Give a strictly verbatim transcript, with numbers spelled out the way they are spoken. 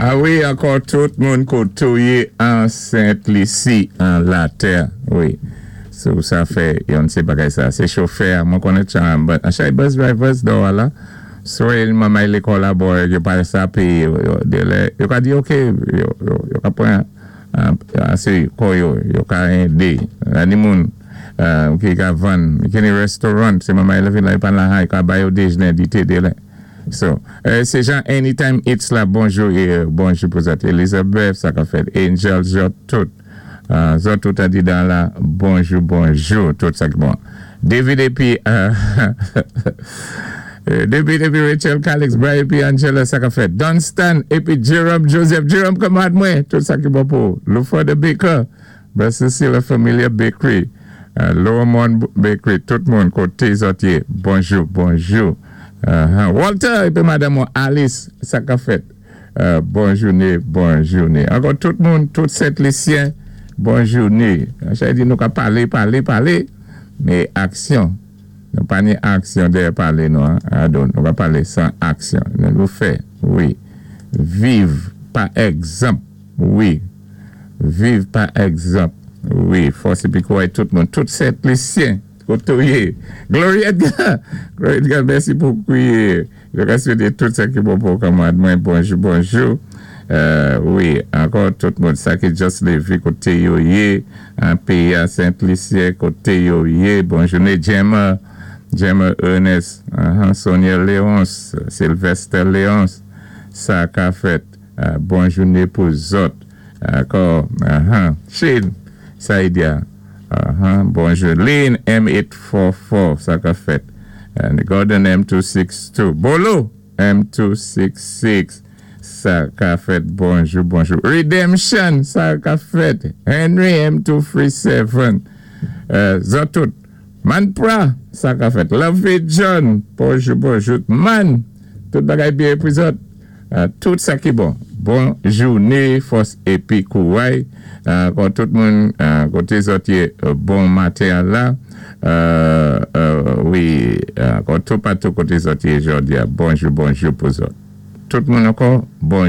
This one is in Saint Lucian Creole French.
A wi, ankò tout moun koté ou yé an Sent Lisi, an latè, wi. So, sa fè yon sé bagay sa. Sé chofè, mwen konnen chan, but a chay bus drivers do la. So, el mamay lékòl la bo, yo pa sa péyé, yo, yo, yo ka di ok, yo, yo, yo ka pran, sé kò yo, yo ka édé. Ni moun ki ka vann, ki ni restaurant, sé mamay la vin la, yo pan la han, yo ka bay yo déjné, dité dé lè. So, sé jan Anytime It's la, bonjou, bonjou pou zòt. Elizabeth, sa ka fèt, Angel, zòt tout. Zòt tout a di dan la, bonjou, bonjou, tout sa ki bon. David épi, David épi Rachel Calix, Brian épi Angela, sa ka fèt. Dunstan épi Jerome Joseph, Jerome kanmarad mwen, tout sa ki bon pou. Luford Baker, Cecilia Familia Bakery, Lower Mon Bakery, tout moun koté zòt yé, bonjou, bonjou. Walter épi Madame Alice, sa ka fèt. Bon jouné, bon jouné. Ankò tout moun, tout Sent Lisyen, bon jouné. Chay di nou ka palé, palé, palé, mé aksyon. Nou pa ni aksyon dèyè palé nou, adon. Nou ka palé san aksyon. Nou nou fè, wi. Viv pa egzanp, wi. Viv pa egzanp, wi. Fòs épi kouray tout moun, tout Sent Lisyen. Koté ou yé. Glory Edgar. Glory Edgar, mèsi pou kouye. Jé ka swété tout sa ki bon pou kanmarad mwen. Bonjou, bonjou. Wi, ankò tout moun. Sa ki just lévé koté yo yé. An péyi a Sent Lisyen koté yo yé. Bonjou né Gemma. Gemma Ernest. Sonia Léonce. Sylvester Léonce. Sa ka fèt. Bon jouné pou zòt. Ankò. Shane. Saidia. Bonjou. Lynn M eight four four. Sa ka fèt. Gordon M two six two. Bolo M two six six. Sa ka fèt. Bonjou, bonjou. Redemption. Sa ka fèt. Henry M two three seven. Zòt tout. Manpra. Sa ka fèt. Lovey John. Bonjou, bonjou. Man. Tout bagay byen pou zòt. Tout sa ki bon. Bon jouné. Fòs épi kouray. Kon tout moun koté zòt yé bon maten la. Wi, kon tout patou koté zòt yé jòdi a. Bonjou, bonjou pou zòt. Tout moun ankò, bonjou.